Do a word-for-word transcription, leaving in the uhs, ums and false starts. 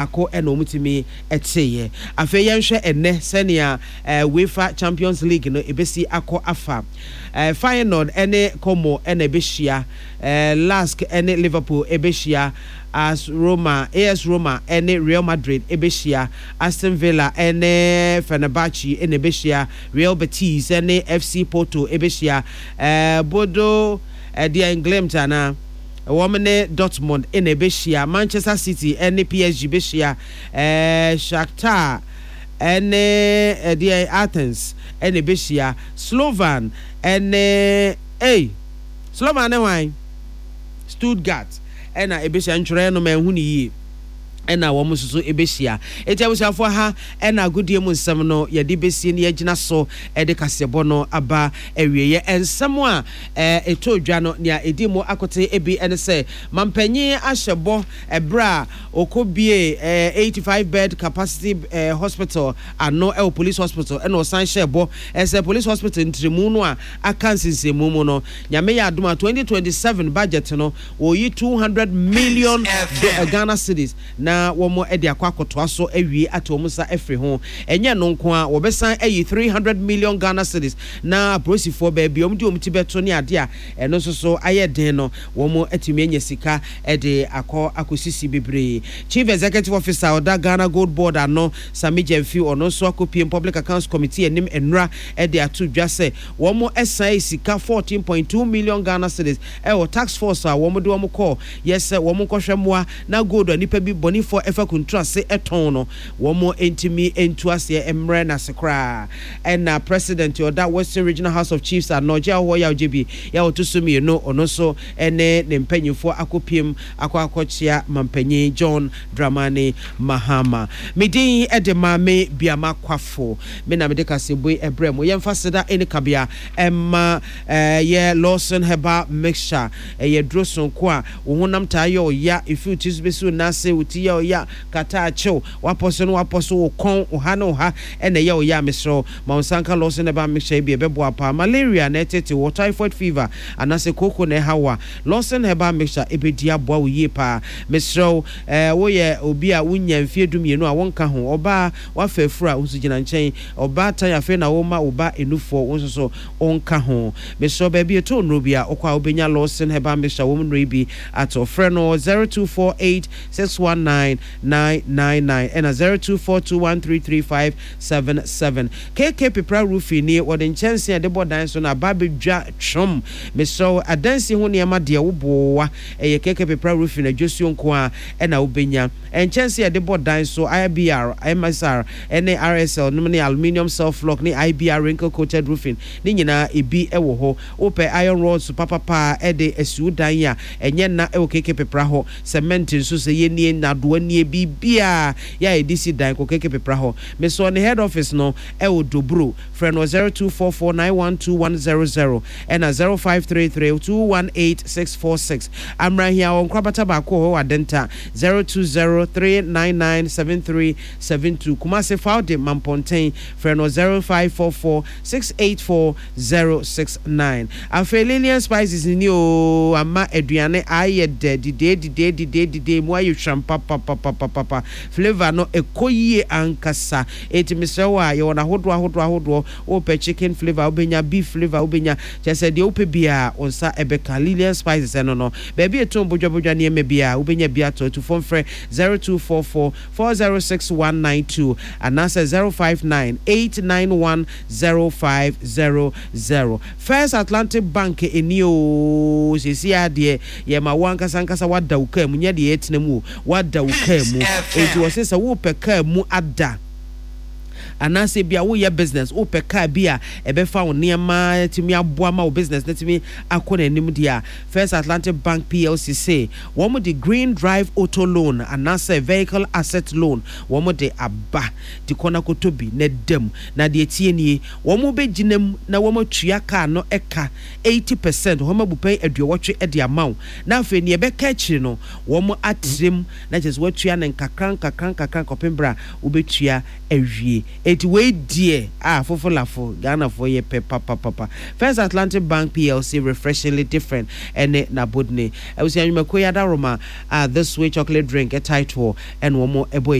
Baako na wɔtumi teeɛ. Afei yɛnhwɛ ɛnnɛ sɛnea UEFA Champions League no ɛbɛsi akɔ afa. Feyenoord ne Como na ɛbɛhyia, Lask ne Liverpool ɛbɛhyia, as Roma, AS Roma ne Real Madrid ɛbɛhyia, Aston Villa ne Fenerbahce na ɛbɛhyia, Real Betis ne FC Porto ɛbɛhyia, Bodo deɛ Glimt anaa? Wɔn ne Dortmund na ɛbɛhyia, Manchester City ne PSG bɛhyia, Shakhtar ne ɛdeɛn Athens na ɛbɛhyia, Slovan ne ei Slovan ne hwan? Stuttgart na ɛbɛhyia, ntwerɛeɛ no manhu no yie. Na wɔn nso so bɛhyia. Enti abusuafoɔ ha na agodie mu nsɛm no yɛde bɛsi na yɛagyina so de kaseɛbɔ no aba awieɛ. Nsɛm a ɛtɔɔ dwa no nea ɛdi mu akoten bi ne sɛ mampanyin ahyɛ bɔ berɛ a ɔkɔbuee eighty five bed capacity hospital ano wɔ Police Hospital ɛna ɔsan hyɛɛ bɔ sɛ Police Hospital ntrɛmu no a aka nsensɛnmu mu no Nyame yɛ adom a twenty twenty seven budget no Wɔreyi two hundred million Ghana cedis na wɔde akɔ akɔtoa so awie ate wɔn nsa afiri ho. Ɛnyɛ ɛno nko ara, wɔbɛsan ayi three hundred million Ghana cedis na apolisifoɔ baabi a wɔde wɔn ti bɛto ne adeɛ a ɛno nso so ayɛ den no, wɔatumi anya sika de akɔ akɔsisi bebree. Chief Executive Officer a ɔda Ghana Gold Board ano, Sammy Gyamfi, ɔno nso akɔpiem Public Accounts Committee anim nnora de ato dwa sɛ wɔsan ayi sika fourteen point two million Ghana cedis Ɛwɔ task force a wɔn de wɔn kɔɔ yɛ sɛ wɔn nkɔhwɛ mmoa na gold a nnipa bi bɔnifoɔ fa kunturu ase tɔn no wɔn ntumi ntu aseɛ mmrɛ no ase koraa. Ɛna President a ɔda Western Regional House of Chiefs ano Ɔgye Ahɔhoɔ Yaw Gyebi yɛ a ɔto so mmienu ɔno nso ne ne mpanyinfoɔ akɔpiem akɔ akɔkyea Mampanyin John Dramani Mahama. Me din de Maame Biama Kwafo. Me na mede kaseɛbue brɛ mo. Yɛmfa seda ne kabea mma Ɛyɛ Lawson Herbal Mixture. Ɛyɛ aduro sononko a wo honam taa yɛ wo ya, ɛfiri wo ti so bɛsi wo nan ase, wo ti yɛ wo ya, kata akyew, w'apɔ so ne w'apɔ so, wo kɔn, wo ha ne wo ha na ɛyɛ wo ya a, mesrɛ wo ma wo nsa nka Lawson Herbal Mixture yi bi, ɛbɛboa wo paa. Malaria na ɛtete wo, typhoid fever anaasɛ kooko na ɛha wo a, Lawson Herbal Mixture ɛbɛdi aboa wo yie paa. Mesrɛ wo, woyɛ obi a wonnya mfeɛ du mmienu a, wonka ho. Ɔbaa, woafa afuru a, wo nso gyina nkyɛn. Ɔbaatan, afei na worema wo ba nufoɔ, wo nso so Ɔnka ho. Mesrɛ wo, baabi ɛtɔ nnuro bi a, wokɔ a wobɛnya Lawson Herbal Mixture wɔn nnuro yi bi atɔ. Frɛ no wɔ zero two four eight six one nine nine nine nine ɛna zero two four two one three three five seven seven. KK Pepra Roofing nie, wɔde nkyɛnsee a yɛde bɔ dan so no aba abɛdwa twom. Mesrɛ wo, adansi ho nneɛma deɛ woboa, ɛyɛ KK Pepra Roofing adwosuo nko ara ɛna wobɛnya. Nkyɛnsee a yɛde bɔ dan so, IBR, MSR, ne RSL nom ne aluminium self lock ne IBR wrinkle coated roofing ne nyinaa ebi wɔ hɔ. Wopɛ iron rods papapa a de asi wo dan a, ɛnyɛ nna wɔ KK Pepra hɔ. Cement nso sɛ yɛ nie, nnadoa nie, biribiara yɛ a yɛde si dan kɔ KK Pepra hɔ. Mesɔɔ ne head office no wɔ Doburo. Frɛ no wɔ zero two four four nine one two one zero zero ɛna zero five three three two one eight six four six. Amrahia wɔ nkorabata baako wɔ hɔ wɔ Adenta, zero two zero three nine nine seven three seven two, Kumasi Faude Mampɔnten, frɛ no zero five four four six eight four zero six nine. Afei Lilian Spices ni oo, ama aduane ayɛ dɛ didee didee didee didee, emu ayɛ hwam papapapapapa, flavour no ɛkɔ yie ankasa, enti mesrɛ wo a, yɛwɔ no ahodoɔ ahodoɔ ahodoɔ, wopɛ chicken flavour a wobɛnya, beef flavour a wobɛnya, kyerɛ sɛ deɛ wopɛ biara wo nsa bɛka, Lilian Spices ɛno no, baabi a ɛtɔn bodwabodwa nneɛma biara wobɛnya bi atɔ, atufoɔ mfrɛ zero two four four four zero six one nine two anaasɛ zero five nine eight nine one zero five zero zero. First Atlantic Bank nie oo, seesei ara deɛ yɛma wo ankasa ankasa woada wo kaa mu, nyɛ deɛ yɛtena mu o, woada wo kaa mu. Enti wɔse sɛ wopɛ kaa mu ada anaasɛ ebia woyɛ business, wopɛ kaa bi a ɛbɛfa wo nneɛma atumi aboa ma wo business no atumi akɔ n'anim deɛ a, First Atlantic Bank plc se wɔde Green Drive Auto Loan anaasɛ Vehicle Asset Loan wɔde aba. Nti kɔ na kɔtɔ bi na da mu. Na deɛ ɛteɛ nie, wɔbɛgyina mu na wɔatua kaa no ka eighty percent, wɔn abupɛn aduɔwɔtwe de ama wo. Na afei deɛ ɛbɛka akyire no, wɔatrɛ mu na kyerɛ sɛ woatua no nkakra nkakra nkakra kɔpem berɛ a wobɛtua awie. Eti wei deɛ a fofolafo Ghanafoɔ yɛ pɛ papapapa. First Atlantic Bank P L C, refreshingly different, ɛne n'abodine. Abusua, nnwumakuo yi adaroma a This Way chocolate drink ɛtae toɔ ɛna wɔn ɛbɔ.